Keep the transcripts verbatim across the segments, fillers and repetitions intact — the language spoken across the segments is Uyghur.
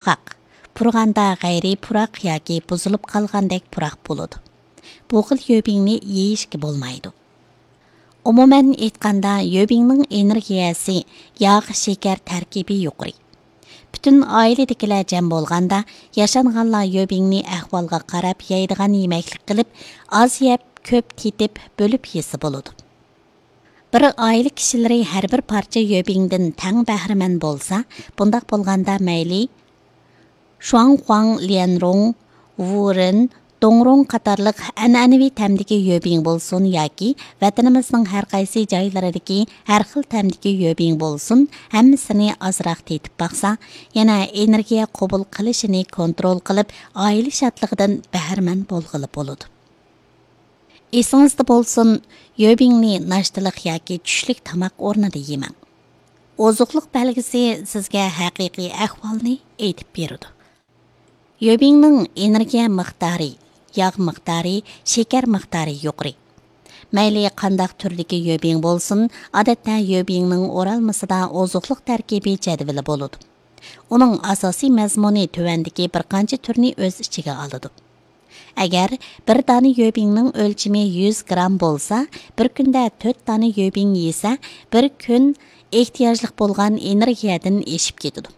قۇرغاق، پۇرىغاندا غەيرىي پۇراق ياكى بۇزۇلۇپ قالغاندەك پۇراق بولىدۇ. بۇ خىل يۆبىڭنى يېيىشكە بولمايدۇ. ئومۇمەن ئېيتقاندا، يۆبىڭنىڭ ئېنېرگىيەسى، ياغ، شېكەر تەركىبى يۇقىرى. پۈتۈن ئائىلىدىكىلەر جەم بولغاندا، ياشانغانلار يۆبىڭنى ئەھۋالغا قاراپ يەيدىغان يېمەكلىك قىلىپ، ئاز يەپ، كۆپ تېتىپ، بۆلۈپ يېسە بولىدۇ. بىر ئائىلە كىشىلىرى ھەر بىر پارچە يۆبىڭدىن تەڭ بەھرىمەن بولسا، بۇنداق بولغاندا مەيلى شۇاڭخۇاڭ، ليەنرۇڭ، ۋۇرېن، دۇڭرۇڭ قاتارلىق ئەنئەنىۋى تەمدىكى يۆبىڭ بولسۇن ياكى ۋەتىنىمىزنىڭ ھەر قايسى جايلىرىدىكى ھەر خىل تەمدىكى يۆبىڭ بولسۇن، ھەممىسىنى ئازراق تېتىپ باقسا، يەنە ئېنېرگىيە قوبۇل قىلىشىنى كونترول قىلىپ، ئائىلە شادلىقىدىن بەھرىمەن بولغىلى بولىدۇ. ئېسىڭىزدە بولسۇن، يۆبىڭنى ناشتىلىق ياكى چۈشلۈك تاماق ئورنىدا يېمەڭ. ئوزۇقلۇق بەلگىسى سىزگە ھەقىقىي ئەھۋالنى ئېيتىپ بېرىدۇ. يۆبىڭنىڭ ئېنېرگىيە مىقدارى، ياغ مىقدارى، شېكەر مىقدارى يۇقىرى. مەيلى قانداق تۈردىكى يۆبىڭ بولسۇن، ئادەتتە يۆبىڭنىڭ ئورالمىسىدا ئوزۇقلۇق تەركىبى جەدۋىلى بولىدۇ. ئۇنىڭ ئاساسىي مەزمۇنى تۆۋەندىكى بىر قانچە تۈرنى ئۆز ئىچىگە ئالىدۇ. ئەگەر بىر دانە يۆبىڭنىڭ ئۆلچىمى يۈز گرام بولسا، بىر كۈندە تۆت دانە يۆبىڭ يېسە، بىر كۈن ئېھتىياجلىق بولغان ئېنېرگىيەدىن ئېشىپ كېتىدۇ.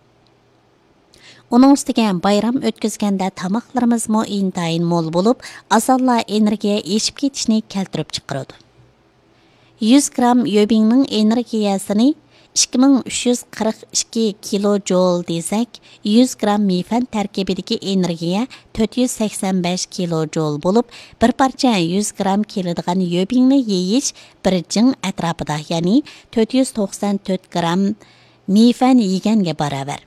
ئۇنىڭ ئۈستىگە بايرام ئۆتكۈزگەندە تاماقلىرىمىزمۇ ئىنتايىن مول بولۇپ، ئاسانلا ئېنېرگىيە ئېشىپ كېتىشنى كەلتۈرۈپ چىقىرىدۇ. يۈز گرام يۆبىڭنىڭ ئېنېرگىيەسىنى ئىككى مىڭ ئۈچ يۈز قىرىق ئىككى كىلو جول دېسەك، يۈز گرام مىفەن تەركىبىدىكى ئېنېرگىيە تۆت يۈز سەكسەن بەش كىلو جول بولۇپ، بىر پارچە يۈز گرام كېلىدىغان يۆبىڭنى يېيىش بىر جىڭ ئەتراپىدا، يەنى تۆت يۈز توقسان تۆت گرام مىفەن يېگەنگە باراۋەر.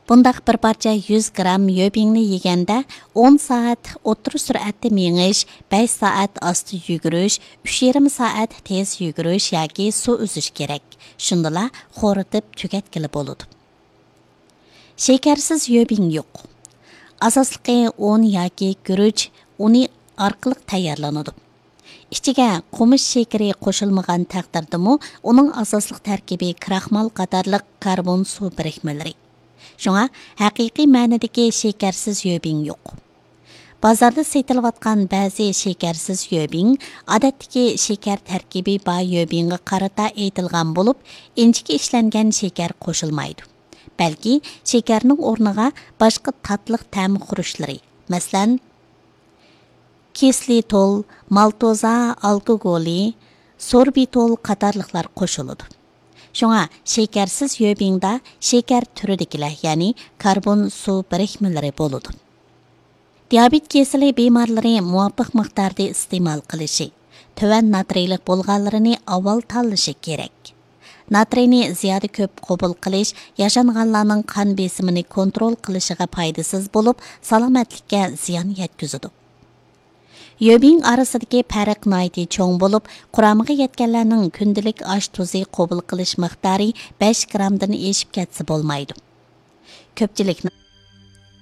بۇنداق بىر پارچە يۈز گرام يۆبىڭنى يېگەندە، ئون سائەت ئوتتۇرا سۈرئەتتە مېڭىش، بەش سائەت ئاستا يۈگۈرۈش، ئۈچ يېرىم سائەت تېز يۈگۈرۈش ياكى سۇ ئۈزۈش كېرەك. شۇندىلا خورىتىپ تۈگەتكىلى بولىدۇ. شېكەرسىز يۆبىڭ يوق. ئاساسلىقى ئۇن ياكى گۈرۈچ ئۇنى ئارقىلىق تەييارلىنىدۇ. ئىچىگە قومۇش شېكىرى قوشۇلمىغان تەقدىردىمۇ، ئۇنىڭ ئاساسلىق تەركىبى كراخمال قاتارلىق كاربون سۇ بىرىكمىلىرى. شۇڭا ھەقىقىي مەنىدىكى شېكەرسىز يۆبىڭ يوق. بازاردا سېتىلىۋاتقان بەزى شېكەرسىز يۆبىڭ، ئادەتتىكى شېكەر تەركىبى بار يۆبىڭغا قارىتا ئېيتىلغان بولۇپ، ئىنچىكە ئىشلەنگەن شېكەر قوشۇلمايدۇ. بەلكى شېكەرنىڭ ئورنىغا باشقا تاتلىق تەم خۇرۇچلىرى، مەسىلەن، كىسلىتول، مالتوزا ئالكوگولى، سوربىتول قاتارلىقلار قوشۇلىدۇ. شۇڭا شېكەرسىز يۆبىڭدا شېكەر تۈرىدىكىلەر، يەنى كاربون سۇ بىرىكمىلىرى بولىدۇ. دىيابېت كېسىلى بىمارلىرى مۇۋاپىق مىقداردا ئىستېمال قىلىشى، تۆۋەن ناترىيلىق بولغانلىرىنى ئاۋۋال تاللىشى كېرەك. ناترىينى زىيادە كۆپ قوبۇل قىلىش ياشانغانلارنىڭ قان بېسىمىنى كونترول قىلىشىغا پايدىسىز بولۇپ، سالامەتلىككە زىيان يەتكۈزىدۇ. يۆبىڭ ئارىسىدىكى پەرق ناھايىتى چوڭ بولۇپ، قۇرامىغا يەتكەنلەرنىڭ كۈندىلىك ئاش تۇزى قوبۇل قىلىش مىقدارى بەش گرامدىن ئېشىپ كەتسە بولمايدۇ. كۆپچىلىكنىڭ